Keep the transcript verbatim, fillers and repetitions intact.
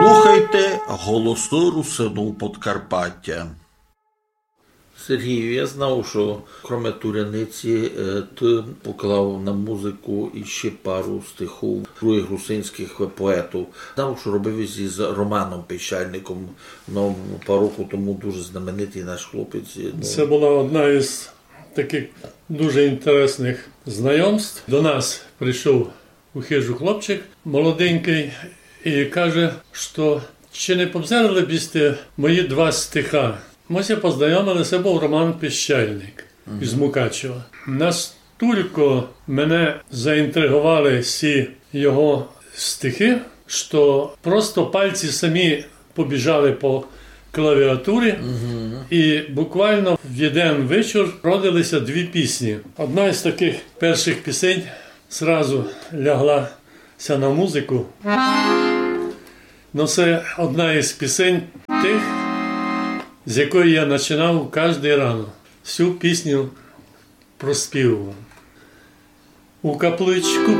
Слухайте Голосы Русинув Подкарпатя. Сергію, я знав, што кроме Туряниці, е, ты поклав на музыку іщи пару стихув другых русинськых поетув. Знав, што робив єсь із Романом Пищальником, но, пару рокув тому дуже знаменитый наш хлопець, ну. Се была одна із такых дуже інтересных знайомств. До нас прийшов у хыжу хлопчик молоденькый і каже, што чи не позерали б сьте мої два стиха. Мы ся познайомили, се быв Роман Пищальник із Мукачева. Настілько мене заінтриговали сі його стихи, што просто пальці самі побіжали по клавіатурі, і буквално в єден вечір родили ся дві пісні. Одна із такых першых пісень зразу лягла ся на музыку. Но се одна із пісень тых, з якої я начинав каждый рано. Сю пісню проспівав. У капличку